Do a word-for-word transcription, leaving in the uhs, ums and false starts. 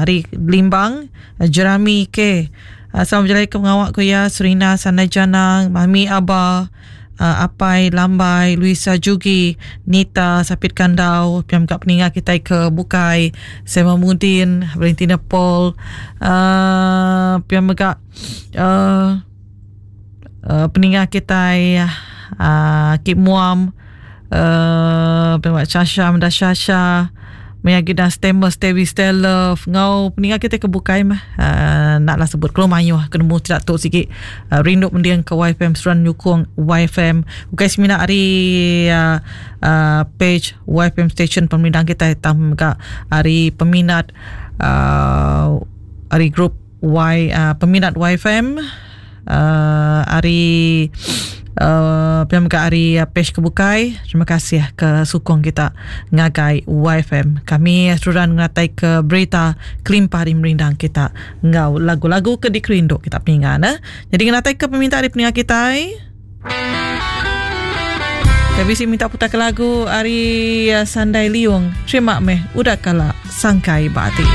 Ari Limbang, Jerami K. Sama bejalai ke pengawa ku iya, Serina Sandai Janang, Mami Aba, Apai Lambai, Luisa Jugi, Nita Sapit Kandau, pia mega peninga kitai ke bukai, Samuel Mudin, Valentina Paul, uhh pia mega uhh peninga kitai uhh Kip Muam, uhh pia mega Shasha Meda Shasha, maya agi da Stamus Stevi Stelove enggau peninga kitai ke bukai meh uhh enda lah sebut kelu mayuh ke nemu sida tu sigi rindu mending ke Y F M seruran nyukung Y F M ukai semina ari uhh page Y F M station pemerindang kitai tang mega ari peminat uhh ari group Y uhh peminat Y F M uhh ari uhh pia mega ari page ke bukai. Terima kasih ke sukung kita ngagai Y F M. Kami seruran ngenatai ke berita kelimpah ari merindang kita enggau lagu-lagu ke dikerindu kita peninga ne. Jadi ngenatai ke peminta ari peninga kitai. Kita bisi minta putar ke lagu ari Sandai Liung. Terima meh udah kala sangkai ba ati.